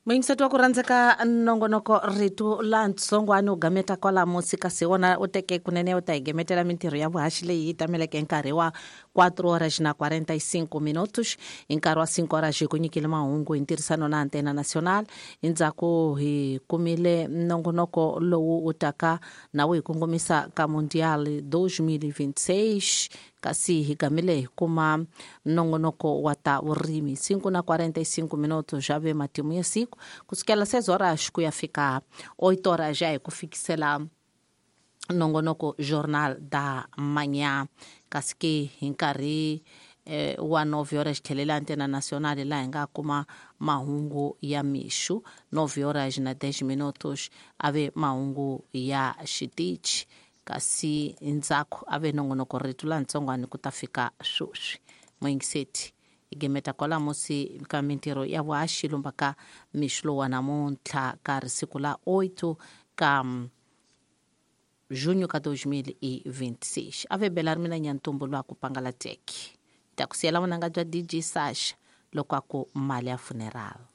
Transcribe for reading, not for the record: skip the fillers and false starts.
Muyingiseti wa ku rhandzeka, nongonoko Rito la Ntsongwani u gameta kwala musi, kasi wona u teke kunene u ta hi gemetela mintirho ya vuhaxi leyi yi tameleke nkarhi wa 4 horas na 45 minutos. Hi nkarhi wa 5 horas hi ku nyikile mahungu hi ntirhisano na Antena Nacional. Endzhaku hi kumile nongonoko lowu wu taka na wu hi kongomisa ka Mundial 2026, kasi hi gamile hi kuma nongonoko wa ta vurimi. 5 na 45 minutos já ve matimu ya siku kusukela 6 horas ku ya fika 8 horas, já hi ku fikisela nongonoko Jornal da Manhã. Kasi ke hi nkarhi wa 9 horas tlhelela Antena Nacional, laha hi nga kuma mahungu ya mixu. 9 horas na 10 minutos ave mahungu ya xitichi, kasi ndzhaku ave nongonoko Rito la Ntsongwani ku ta fika sweswi. Muyingiseti, hi gemeta kwala musi ka mintirho ya vuhaxi lumba ka mixu lowa namuntlha ka ri siku la 8 ka junho ka 2026. Ave bela ri mina Nyantumbu lwa ku pangala teki ta ku siyela vunanga bya DJ Sasha loko a ku mali ya funeral.